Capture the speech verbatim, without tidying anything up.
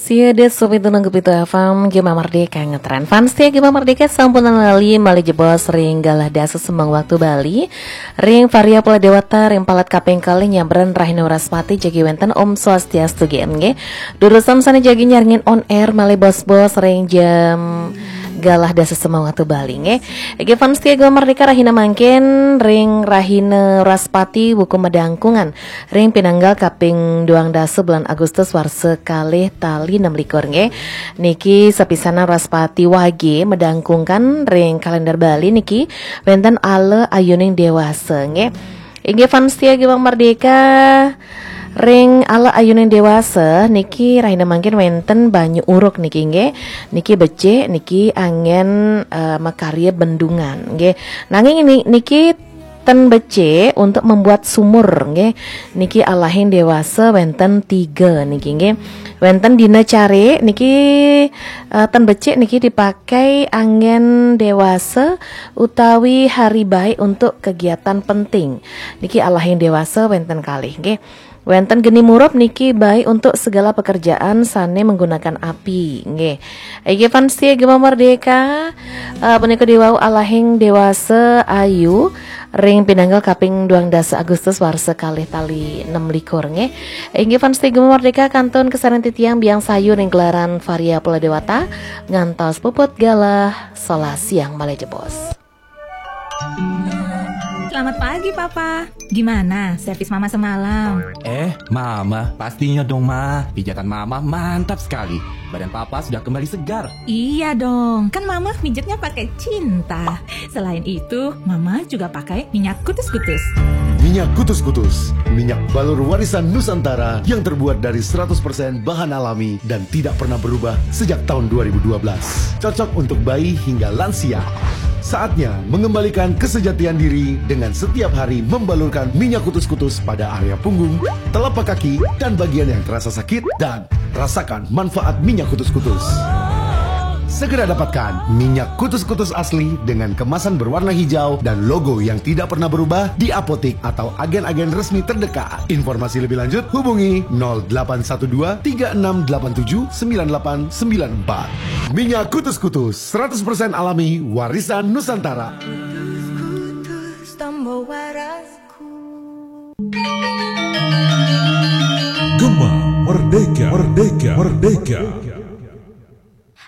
Tiada sopi tunung kepitu F M, Gema Merdeka ngetren. Fans tia Gema Merdeka sampunan lali malih jebos ring galah dasa sembang waktu Bali. Ring Varia Pola Dewata, ring palet kaping kalih nyabran Rahina Wraspati jagi wenten Om Swastiastu G M G. Durusang sane jagi nyarengin on air malih bos-bos ring jam galah dasa sembang waktu Bali nggih. Nggih fans tia Gema Merdeka, rahina mangkin ring Rahina Wraspati buka madangkungan ring pinanggal kaping duang dasa bulan Agustus warsa kalih tali enam likur nggih. Niki sapisanan Wraspati Wage madangkungan ring kalender Bali niki wenten ala ayuning dewasa nggih. Inggih fans tia Gema Merdeka, ring ala ayuning dewasa niki rahina mangkin wenten banyu uruk niki nggih. Niki becik, niki anggen eh, makarya bendungan nggih. Nanging ni- niki ten becik untuk membuat sumur nggih. Niki alahing dewasa wenten tiga niki nggih. Wenten dina carik niki eh, ten becik niki dipakai anggen dewasa utawi hari baik untuk kegiatan penting. Niki alahing dewasa wenten kalih nggih. Wenten geni murub niki baik untuk segala pekerjaan sane menggunakan api nggih. Inggih fans tia Gema Merdeka, eh, punika diwau alahing dewasa ayu ring pinanggal kaping duang dasa Agustus warsa kalih tali enam likur nggih. Inggih fans tia Gema Merdeka, kantun kasarengin titiang Biang Sayu ring gelaran Varia Pola Dewata ngantos puput galah solas siang malih jebos. Selamat pagi, Papa. Gimana servis Mama semalam? Eh, Mama, pastinya dong, Ma. Pijatan Mama mantap sekali. Badan Papa sudah kembali segar. Iya dong, kan Mama mijitnya pakai cinta. Selain itu, Mama juga pakai minyak kutus-kutus. Minyak Kutus-Kutus, minyak balur warisan Nusantara yang terbuat dari seratus persen bahan alami dan tidak pernah berubah sejak tahun dua ribu dua belas. Cocok untuk bayi hingga lansia. Saatnya mengembalikan kesejatian diri dengan setiap hari membalurkan minyak kutus-kutus pada area punggung, telapak kaki, dan bagian yang terasa sakit dan rasakan manfaat minyak kutus-kutus. Segera dapatkan minyak kutus-kutus asli dengan kemasan berwarna hijau dan logo yang tidak pernah berubah di apotik atau agen-agen resmi terdekat. Informasi lebih lanjut hubungi nol delapan satu dua tiga enam delapan tujuh sembilan delapan sembilan empat. Minyak kutus-kutus seratus persen alami warisan Nusantara. Gema Merdeka, Merdeka, Merdeka.